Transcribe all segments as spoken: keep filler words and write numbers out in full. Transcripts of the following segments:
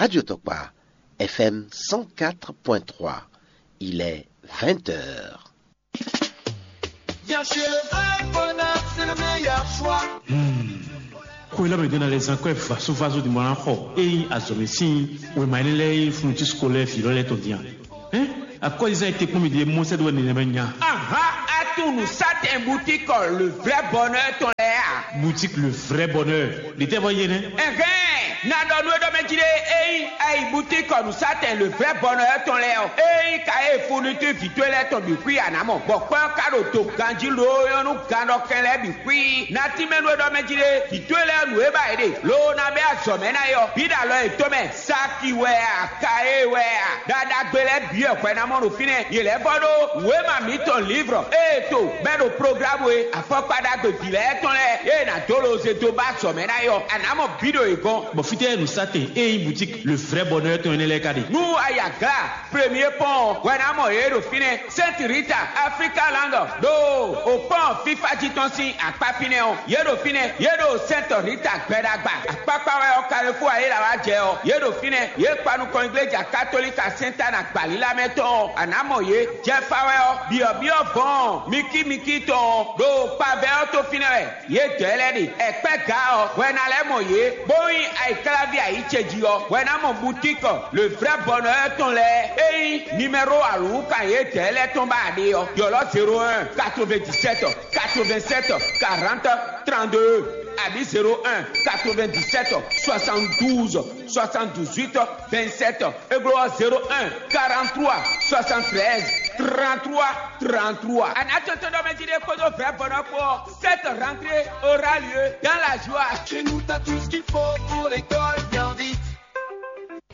Radio Tokpa, F M cent quatre point trois. Il est vingt heures. Bien sûr, le vrai bonheur, c'est le meilleur choix. Xwe lɛ́ mɛ ɖó ná lɛ́ zán kɔ́ ɛ vasovaso ɖi mɔ ná xɔ ényí azɔ̌mɛ sín wěma énɛ́ lɛ́ɛ e fúnnutín scolaire vǐ lɔ lɛ́ɛ tɔn dín a? Hɛn, akɔ́yizán e te kpɔ́n mi ɖe mɔ sɛ́ ɖó wɛ nɛnɛmɛ nya. Aha, atún nǔsátɛn boutique le vrai bonheur tɔn lɛ́ɛ a? Boutique le vrai bonheur, ɖě tɛ́ vɔ yé nɛ́? Ɛhɛn, na ɖɔ nú we ɖɔ mɛ jí ɖé, ényí a yi boutique nǔsátɛn le vrai bonheur tɔn lɛ́ɛ ɔ́, ényí ka e fourniture vǐ towe lɛ́ɛ tɔn bǐ xwí a nǎ mɔ, bɔ kpɛ́ ɔ́ ka ɖo do ganjí loo nyɔ́ nú gannɔkɛn lɛ́ɛ bǐ xwí. Na tínmɛ nú we ɖɔ mɛ jí ɖé, vǐ towe lɛ́ɛ nǔ e ba yě ɖe, loo ná bɛ́ azɔ̌ mɛ ná é ɔ́, bǐ ɖo alɔ yětɔn mɛ. Saki wɛ a, kaye wɛ a, ɖaɖagbe lɛ́ɛ bǐ wɛ hwɛ ná mɔ ɖo fínɛ́. Yě lɛ́ vɔ ɖó wěma mǐtɔn lǐvrɔ e to bɛ́ ɖo programu e afɔkpa ɖagbe vǐ lɛ́ɛ tɔn lɛ́ɛ e nǎ dó loze dó ba azɔ̌ mɛ ná é ɔ́, a nǎ mɔ bǐ ɖo yě gɔ́n. Bɔ fítɛ́ nǔsátɛn e nyí boutique le vrai bonheur tɔn énɛ́ lɛ́ɛ ka ɖe? Nú a yi Agla Premier Pɔ́n ɔ́, hwɛ ná mɔ yě ɖo fínɛ́. Sainte Rita, Africa Land, ɖo o pɔ́n fífá jí tɔn sín akpá fínɛ́ ɔ́, yě ɖo fínɛ́. Yě ɖo Sainte Rita gbɛɖagba. Akpákpá wɛ ɔ́, Carrefour Ayélawa jɛ ɔ́, yě ɖo fínɛ́. Yě kpa nukɔn igleja katolika Sɛntana gbalílá mɛ tɔn ɔ́, a nǎ mɔ yě. Jɛfa wɛ ɔ́, byɔ̌byɔ́ vɔ̌ɔn mikímikí tɔn ɔ́, ɖo kpavɛ ɔ́ tó fínɛ́ wɛ. Yědɛɛ lɛ́ɛ ɖe ɛkpɛ́ gǎ ɔ́, hwɛ ná lɛ́ mɔ yě, bó nyí ayǐkláví ayǐ ce jí ɔ́, hwɛ ná mɔ butíkɔ le vrɛ́ bɔnɔ ɔ́ tɔn lɛ́ɛ. Ényí nimɛ́ro alǔwúkan yědɛɛ lɛ́ɛ tɔn ba a ɖe ɔ́, ylɔ́ zéro un, quatre-vingt-dix-sept, quatre-vingt-sept, quarante, trente-deux, abǐ zéro un, quatre-vingt-dix-sept, soixante-douze, soixante-dix-huit, vingt-sept. Églo ɔ́, zéro un, quarante-trois, soixante-treize, trente-trois, trente-trois. A nǎ tɔntɔn ɖɔ mɛ jí ɖé kpódó vrɛ̌ vɔ̌ nɔ kpó ɔ́, cette rentrée aura lieu dans la joie. Chez nous, t'as tout ce qu'il faut pour l'école bien vite.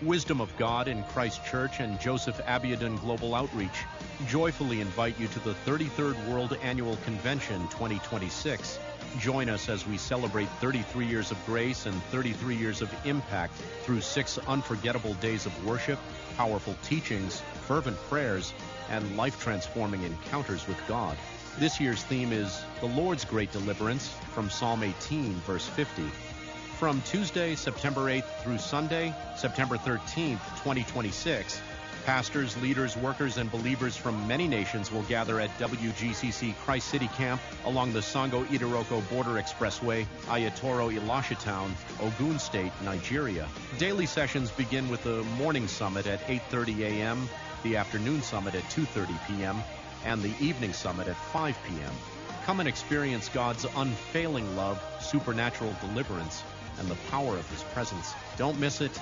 Wisdom of God in Christ Church and Joseph Abiodun Global Outreach joyfully invite you to the thirty-third World Annual Convention twenty twenty-six. Join us as we celebrate thirty-three years of grace and thirty-three years of impact through six unforgettable days of worship, powerful teachings, fervent prayers, and life-transforming encounters with God. This year's theme is The Lord's Great Deliverance, from Psalm eighteen, verse fifty. From Tuesday, September eighth through Sunday, September thirteenth, twenty twenty-six, pastors, leaders, workers, and believers from many nations will gather at W G C C Christ City Camp along the Sango Idiroko Border Expressway, Ayatoro Elisha Town, Ogun State, Nigeria. Daily sessions begin with the morning summit at eight thirty a m, the afternoon summit at two thirty p.m., and the evening summit at five p.m. Come and experience God's unfailing love, supernatural deliverance, and the power of His presence. Don't miss it.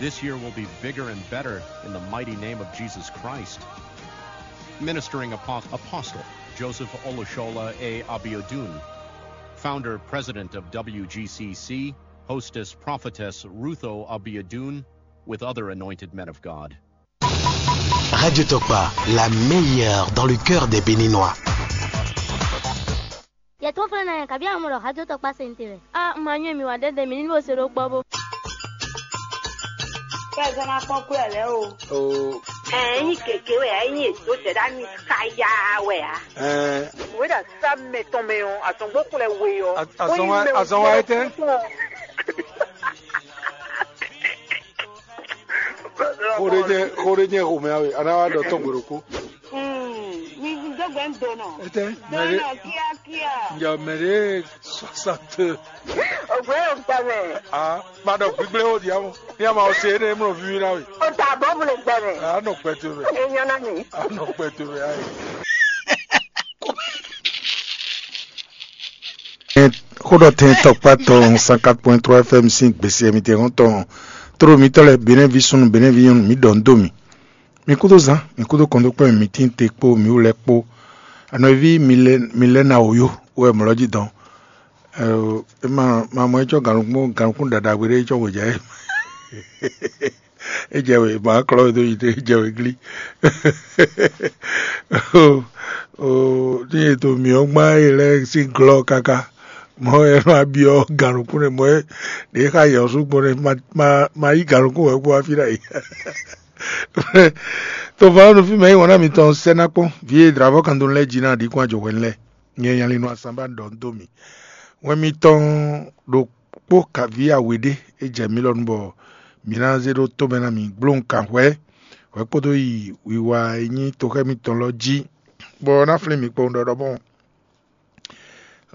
This year will be bigger and better in the mighty name of Jesus Christ. Ministering Apo- Apostle Joseph Olushola A. Abiodun, founder president of W G C C, hostess prophetess Rutho Abiodun, with other anointed men of God. Radio Tokpa, la meilleure dans le cœur des Béninois. Yɛ tó fɛn na yɛ kabi amɔ ɖɔ hajɔ tɔ kpa sente wɛ. A ma nyɔ mi wa dɛdɛ mi ni bo se ɖo kpɔ bo. Kɛ zɔn na kpɔn kú ɛ lɛ o. O. Ɛ nyi keke wɛ ɛ nyi eto sɛ ɖa mi ka ya wɛ a. Ɛ. Wɛ ɖa sa mɛ tɔn mɛ ɔ, atɔn gbɔ kplɛ we ɔ. Azɔn wa etɛ. Xo ɖé jɛ xo ɖé jɛ xomɛ awe, a ná wá ɖɔ tɔn gbe ɖokpó. Mi dó gbɛ ń donɔ. Etɛ, mɛ ɖé. Donɔ kíákíá. Njɛ mɛ ɖé soixante. Ògbé yóò gbà mẹ́. Ah, má ɖɔ gbígbé ó di àmọ́. Ní a máa ṣe é ní mọ̀ fífi náà wì. Ó ta bọ́ mo lè gbà mẹ́. A nɔ pẹ̀tù rẹ̀. Èèyàn náà mi. A nɔ pẹ̀tù rẹ̀ ayé. Xó ɖɔ tɛn tɔkpá tɔn cent quatre point trois F M sín gbèsè mi tɛ hɔn tɔn. Tló mitɔ́ lɛ́ɛ, Benɛ́ví súnnu, Benɛ́ví nyɔ́nu, mǐ ɖɔ nǔ dó mì. Mi kúdó zán, mi kúdó kɔn dó kpɛ́n mì, mi tín te kpó mi wú lɛ́ɛ kpó. Anɔví mi lɛ́ mi lɛ́ ná wǒyó wɛ mlɔ́ jí dɔn. Ɛ, ma ma mɔ é cɔ́ gǎnukún gǎnukún ɖaɖagbe ɖé é cɔ́ hwejǎ é. É jɛ wě, ma klɔ́ we dó yi ɖé, é jɛ wě glí. Oo, ní e to mǐ ɔ́ gbán é lɛ́ɛ sín glɔ́ káká. Mɔ̌ wɛ nɔ abyɔ́ gǎnukún nɛ, mɔ̌ wɛ ɖě xa yɛ ɔ́ sú gbɔn nɛ, ma ma ma yí gǎnukún wɛ kpó wá fí ɖ'ayǐ. Tɔnvɔ́nú fí mɛ é wɔn ná mitɔn sɛ́ ná kpɔ́n, vǐ e dlǎvɔ́ kan dó lɛ́ɛ jí ná ɖǐ kún ajɔ̌ hwɛ̌n lɛ́ɛ. Nyɛ nyalinu Asanba ɖɔ un dó mi. Wɛn mitɔn ɖokpó kaví awe ɖé é jɛ mǐ lɔ nu bɔ Mi ná zé ɖó tomɛ ná mi gbló nǔkanhwɛ hwɛ kpódó yi wiwa e nyí toxɛ́ mitɔn lɔ jí, bɔ ná flín mi kpowun ɖɔɖɔmɔ.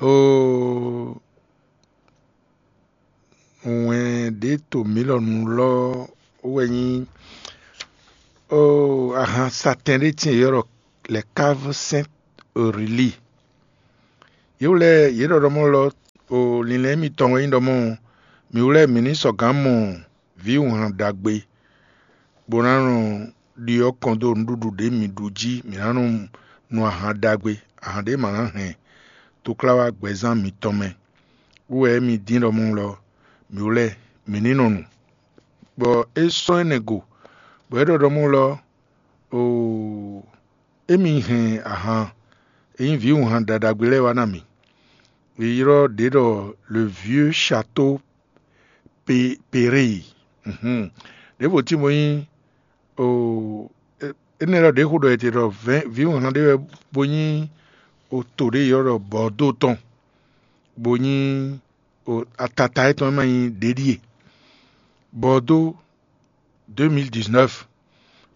Oo, wɛn ɖě to mǐ lɔ nu lɔ wɛ nyí oo, ahan satɛn ɖé tíin e ylɔ́ ɖɔ lɛ̌káv sɛ́n Rilíi. Yě wlɛ́ yě ɖɔɖɔmɔ lɔ, o linlɛn mitɔn wɛ nyí ɖɔ mɔ mǐ wlɛ́ mǐ ní sɔgǎn mɔ vǐwunhan ɖagbe, bó ná nɔ ɖyɔ́ kɔn dó nǔɖuɖu ɖě mǐ ɖu jí; mǐ ná nɔ nu ahan ɖagbe, ahan ɖě ma ná hɛn tokláwá gbɛzán mitɔn mɛ. Wú wɛ émí dín ɖɔ mɔ lɔ, mǐ wlɛ́ mǐ ní nɔ nu. Bɔ é sɔ́ énɛ́ go, bɔ é ɖɔ ɖɔ mɔ lɔ, oo, émí hɛn ahan e nyí vǐwunhan ɖaɖagbe lɛ́ɛ wá ná mì. È ylɔ́ ɖě ɖɔ le vieux château Péré. Ɖěvo tín bó nyí, énɛ́ lɔ ɖě xo ɖɔ è te ɖɔ vǐwunhan ɖé wɛ, bó nyí oto ɖé ylɔ́ ɖɔ Bɔ̌dó tɔn, bó nyí atata étɔn e ma nyí ɖě ɖíe. Bɔ̌dó deux mille dix-neuf.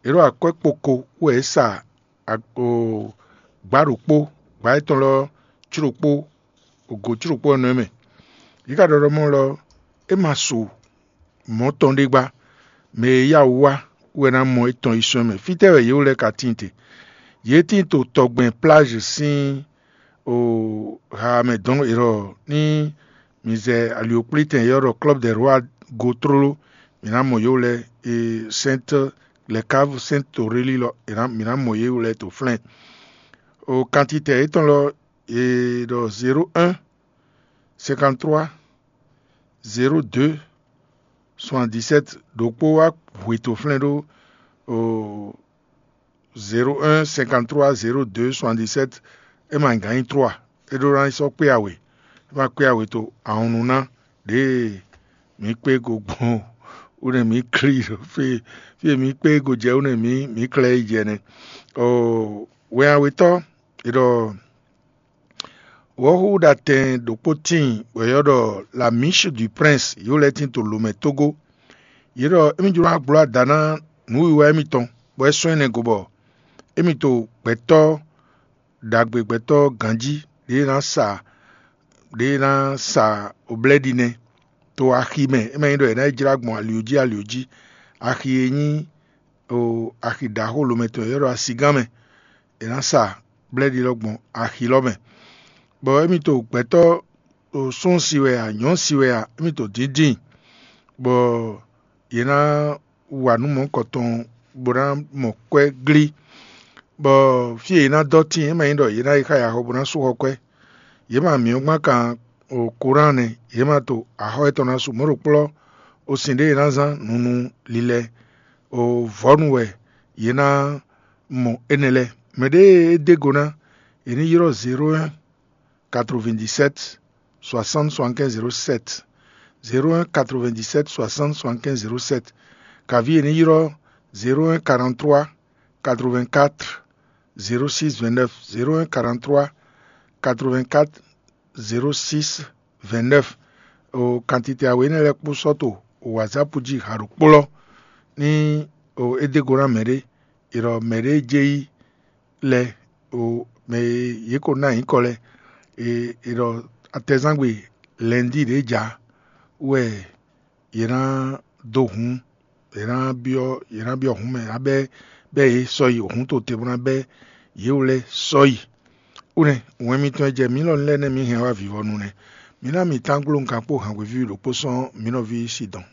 È ɖo akwɛ́ kpoko wú wɛ é sa gbǎ ɖokpó, gbǎ yětɔn lɔ có ɖokpó, gǒ có ɖokpó ɔ́ nɔ é mɛ. Yě ka ɖɔ ɖɔ mɔ lɔ é ma su mɔ̌ tɔn ɖé gbá. Mɛ e yá wú wá wɛ ná mɔ étɔn yi sɔ́ mɛ. Fítɛ́ wɛ yě wú lɛ́ɛ ka tíin te? Yě tíin to tɔgbɛn pláž sín o ha mɛ dɔn erɔ ní mi zɛ aliokplítɛn yɔ́ ɖɔ Club des Rois go tlóló, mǐ ná mɔ yě wú lɛ́ɛ e Sainte, les caves Sainte Aurélie lɔ, mǐ ná mɔ yě wú lɛ́ɛ to flɛ́n. O kantitɛ yětɔn lɔ, è ɖɔ zéro un cinquante-trois zéro deux soixante-dix-sept. Ɖokpó wá hwe to flɛ́n ɖó o zéro un cinquante-trois zéro deux soixante-dix-sept. É ma gǎn nyí trois. É ɖó ná yi sɔ́ kpé awě. É ma kpé awě to ahɔnnu ná ɖěe mǐ kpé go gbɔn wú nɛ mǐ klí ɖo fí fí e mǐ kpé go jɛ wú nɛ mǐ mǐ klɛ́ yi jɛ nɛ́. Oo, wɛn awetɔ́ è ɖɔ wɔ̌xúxúɖatɛn ɖokpó tíin bɔ è ylɔ́ ɖɔ La Miche du Prince, yě wú lɛ́ɛ tíin to lǒ mɛ tógó. Yě ɖɔ émí jló ná gbló ada ná nǔwiwa émítɔn, bɔ é sɔ́ énɛ́ go bɔ émí to gbɛ̌tɔ́ ɖagbe, gbɛ̌tɔ́ ganjí ɖě ná sa ɖě ná sa oblɛ́ɖi nɛ́ to axi mɛ. É ma nyí ɖɔ è nǎ yi jlá gbɔn ali jí ali jí. Axi e nyí o axi ɖaxó lomɛ tɔn e ylɔ́ ɖɔ asigán mɛ, è nǎ sa blɛ́ɖi lɔ gbɔn axi lɔ mɛ. Bɔ émí to gbɛ̌tɔ́ o sún si wɛ a, nyɔ̌ si wɛ a, émí to dǐndín, bɔ yě ná wa nǔ mɔ̌kɔtɔn bó ná mɔ kwɛ́ glí, bɔ fí e yě ná dɔ́ tíin, é ma nyí ɖɔ yě ná yi xá yaxɔ bó ná sú xɔ kwɛ́. Yě ma mǐ ɔ́ gbán kan o Korán nɛ́, yě ma to axɔ́ yětɔn ná su mɔ̌ ɖo kplɔ́ o sin ɖé e ná zán nunu lilɛ o vɔ̌nu wɛ yě ná mɔ énɛ́ lɛ́ɛ. Mɛ ɖě e é dó go ná, è ní ylɔ́ zéro un quatre-vingt-dix-sept soixante soixante-quinze zéro sept, zéro un quatre-vingt-dix-sept soixante soixante-quinze zéro sept. Kaví è ní ylɔ́ zéro un quarante-trois quatre-vingt-quatre zéro six vingt-neuf, zéro un quarante-trois quatre-vingt-quatre zéro six vingt-neuf. O kantite awe énɛ́ lɛ́ɛ kpó sɔ́ to o WhatsApp jí ha ɖokpó lɔ ní o é dó go ná mɛɖé. È ɖɔ mɛɖé jɛ yi lɛ o mɛ e yě ko ná nyǐkɔ lɛ. È è ɖɔ atɛzangbe lɛ̌ndí ɖě ja wɛ yě ná dó hǔn, yě ná byɔ́ yě ná byɔ́ hǔn mɛ ná bɛ́ bɛ́ yě sɔ́ yi hǔn to te bó ná bɛ́ yě wú lɛ́ɛ sɔ́ yi. Kúnɛ́ wɛn mitɔn e jɛ mǐ lɔ lɛ́ɛ nɛ́ mǐ hɛn wá vivɔnu nɛ́. Mǐ ná mi tán gló nǔkan kpó hǎngběví ɖokpó sɔ́ mǐ nɔví Sidɔn.